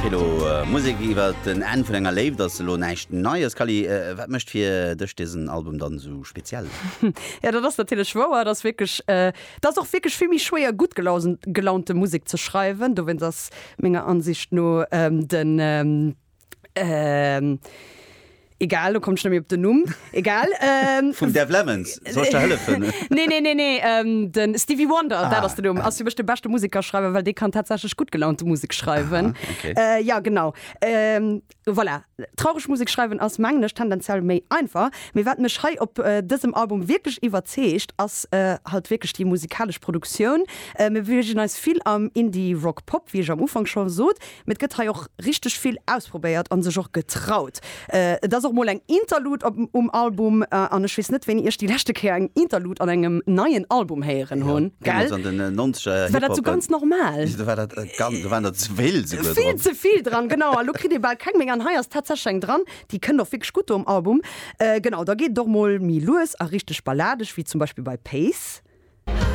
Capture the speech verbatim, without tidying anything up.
Kelo, Musek iwwer den Enn vun enger Léift ass elo näischt Neies. Kally, wat mécht fir dech dësen Album dann esou speziell? Ja, dat ass natierlech wouer, dat ass wierklech, dat ass och wierklech vill méi schwéier gutt gelaunte Musek ze schreiwen. Dowéinst ass menger Ansicht no den, egal, lo kommen ech net méi op den Numm, egal. Vum Dev Lemons, soll ech der hëllefen? Nee, nee, nee, nee, de Stevie Wonder, dat ass den Numm, ass fir mech de beschte Musekerschreiwer, well dee kann tatsächlech gutt gelaunte Musek schreiwen. Aha, okay. Ja, genau. Voilà, traureg Musek schreiwen ass, mengen ech, tendenziell méi einfach. Mee wat mech hei op dësem Album wierklech iwwerzeegt, ass halt wierklech déi musikalesch Produktioun. Mir beweegen eis vill am Indie-Rock-Pop, wéi ech am Ufank scho sot, mee et gëtt hei och richteg vill ausprobéiert an sech och getraut. Et ass och mol eng Interlude op um Album an ech weess net, wéini ech déi leschte Kéier eng Interlude an engem neien Album héieren hunn, gell? Deemools an den nonzeger War dat sou ganz normal. Do war dat ganz, do waren der ze vill souguer Vill dran. ze vill dran, genau. A lo kritt ee bal keng méi. An hei ass tatsächlech eng dran, déi kënnt och wierklech gutt do um Album. Genau, da geet et och mol méi lues a richteg balladeg, wéi zum Beispill bei Pace.